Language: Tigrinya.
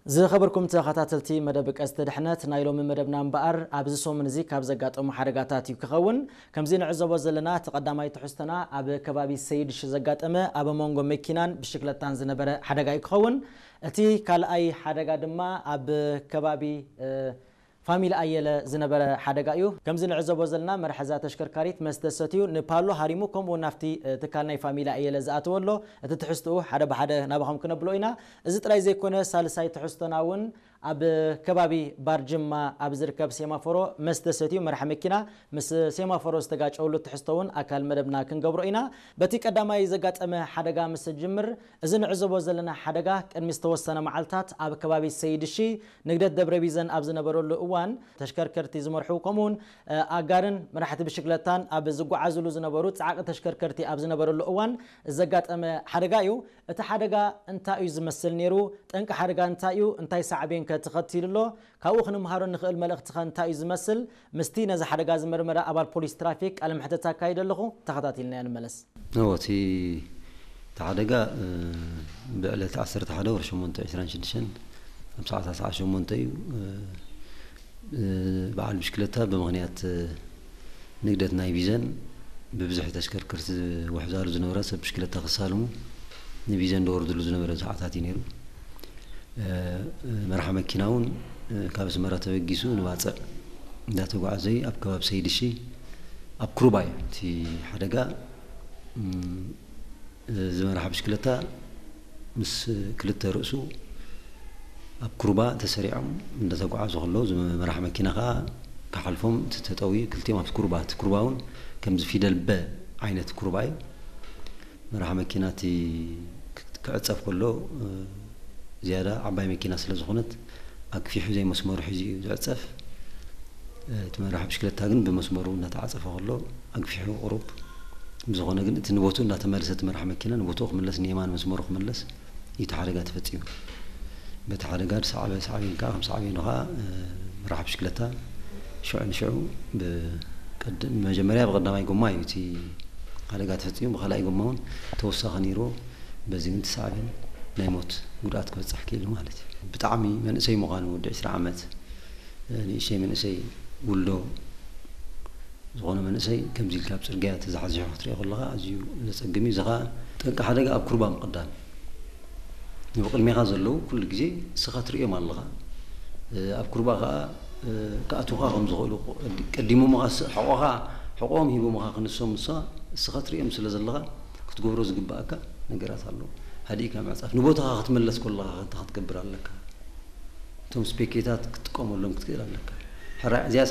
ዝኸበርኩም ተኸታተልቲ መደብ ቀስተ ድሕነት፣ ናይ ሎሚ መደብና እምበኣር ኣብዚ ሰሙን እዚ ካብ ዘጋጠሙ ሓደጋታት እዩ ክኸውን። ከምዚ ንዕዘቦ ዘለና፣ እቲ ቀዳማይ ትሕዝቶና ኣብ ከባቢ ሰይድሽ ዘጋጠመ ኣብ መንጎ መኪናን ብሽክለታን ዝነበረ ሓደጋ እዩ ክኸውን። እቲ ካልኣይ ሓደጋ ድማ ኣብ ከባቢ ፋሚሊ ኣየለ ዝነበረ ሓደጋ እዩ። ከምዚ ንዕዘቦ ዘለና፣ መርሓ እዛ ተሽከርካሪት መስተ ሰትዩ ንፓሎ ሃሪሙ፣ ከምኡ እውን ናብቲ ትካል ናይ ፋሚሊ ኣየለ ዝኣተወ ኣሎ። እቲ ትሕዝትኡ ሓደ ብሓደ ናባኹም ክነብሎ ኢና። እዚ ጥራይ ዘይኮነ፣ ሳልሳይ ትሕዝቶና እውን ኣብ ከባቢ ባርጅማ ኣብ ዝርከብ ሴማፎሮ መስተ ሰትዩ መርሓ መኪና ምስ ሴማፎሮ ዝተጋጨውሉ ትሕዝቶ እውን ኣካል መደብና ክንገብሮ ኢና። በቲ ቀዳማይ ዘጋጠመ ሓደጋ ምስ ጅምር፣ እዚ ንዕዘቦ ዘለና ሓደጋ ቅድሚ ዝተወሰነ መዓልታት ኣብ ከባቢ ሰይድሺ ንግደት ደብረ ቢዘን ኣብ ዝነበረሉ እዋን፣ ተሽከርከርቲ ዝመርሑ፣ ከምኡ እውን ኣጋርን መራሕቲ ብሽክለታን ኣብ ዝጓዓዝሉ ዝነበሩ ጻዕቂ ተሽከርከርቲ ኣብ ዝነበረሉ እዋን ዘጋጠመ ሓደጋ እዩ። እቲ ሓደጋ እንታይ እዩ ዝመስል ነይሩ? ጠንቂ ሓደጋ እንታይ እዩ? እንታይ ሳዕቤን ከ ተኸቲሉ ኣሎ? ካብኡ ክንምሃሮ ንኽእል መልእኽቲ ከ እንታይ እዩ ዝመስል? ምስቲ ነዚ ሓደጋ ዝመርመረ ኣባል ፖሊስ ትራፊክ ቃለ መሕተት ኣካይደ ኣለኹ። ተኸታቲልና ንመለስ። እዎ፣ እቲ እቲ ሓደጋ ብዕለት ዓሰርተ ሓደ ወርሒ ሸሞንተ ዕስራን ሽዱሽተን ኣብ ሰዓት ኣስታት ሸሞንተ እዩ። በዓል ብሽክለታ ብምኽንያት ንግደት ናይ ቢዘን ብብዝሒ ተሽከርከርቲ ዝውሕዛሉ ዝነበረ ሰብ ብሽክለታ ክሳልሙ ንቢዘን ዝወርድሉ ዝነበረ ሰዓታት እዩ ነይሩ። መርሓ መኪና እውን ካብ ኣስመራ ተበጊሱ ንባፅዕ እንዳተጓዓዘ ኣብ ከባቢ ሰይድሺ ኣብ ኩርባ እዩ እቲ ሓደጋ። ዝመርሓ ብሽክለታ ምስ ክልተ ርእሱ ኣብ ኩርባ ተሰሪዖም እንዳተጓዓዙ ከለዉ፣ ዝመርሓ መኪና ከኣ ክሓልፎም እቲ ተጠውዩ፣ ክልቲኦም ኣብቲ ኩርባ፣ እቲ ኩርባ እውን ከምዚ ፊደል በ ዓይነት ኩርባ እዩ። መርሓ መኪና እቲ ክዕጸፍ ከሎ ዝያዳ ዓባይ መኪና ስለ ዝኾነት ኣግፊሑ ዘይመስመሩ ሒዙ እዩ ዝዕጸፍ። እቲ መራሒ ብሽክለታ ግን ብመስመሩ እናተዓጸፈ ከሎ ኣግፊሑ ቁሩብ ብዝኾነ ግን እቲ ንቦቱ እናተመለሰ እቲ መራሒ መኪና ንቦቱ ክምለስ ንየማን መስመሩ ክምለስ እዩ እቲ ሓደጋ ተፈጺሙ። በቲ ሓደጋ ዝሰዓበ ሳዕቤን ከዓ ከም ሳዕቤኑ ከዓ መራሒ ብሽክለታ ሽዑ ንሽዑ መጀመርያ ብቀዳማይ ጎማ እዩ እቲ ሓደጋ ተፈጺሙ፣ ብካልኣይ ጎማ እውን ተወሳኺ ነይርዎ። በዚ ግን እቲ ሳዕቤን ናይ ሞት ጉድኣት ክበፅሕ ክኢሉ ማለት እዩ። ብጣዕሚ መንእሰይ ምዃኑ፣ ወዲ ዕስራ ዓመት ንእሽተይ መንእሰይ ውልዶ ዝኾነ መንእሰይ ከምዚ ኢልካ ኣብ ፅርግያ ተዛሕዚሑ ክትሪኦ ከለኻ ኣዝዩ ዘፀግም እዩ። እዚ ከዓ ጠንቂ ሓደጋ ኣብ ኩርባ ምቕዳም እዩ። ብቕድሜኻ ዘለዉ ኩሉ ግዜ እስኻ ትርእዮም ኣለኻ። ኣብ ኩርባ ከዓ ክኣትዉኻ ከም ዝኽእሉ፣ ቀዲሞምኻ፣ ሕቖኻ፣ ሕቖም ሂቦምኻ ክንሶም ንስኻ፣ እስኻ ትርእዮም ስለ ዘለኻ ክትገብሮ ዝግባኣካ ነገራት ኣሎ። ሃዲእካ ምዕጻፍ፣ ንቦታኻ ክትምለስ ከለኻ እንታይ ክትገብር ኣለካ? እቶም ስፔኬታት ክትጥቀመሎም ክትክእል ኣለካ። ሕራይ እዚኣ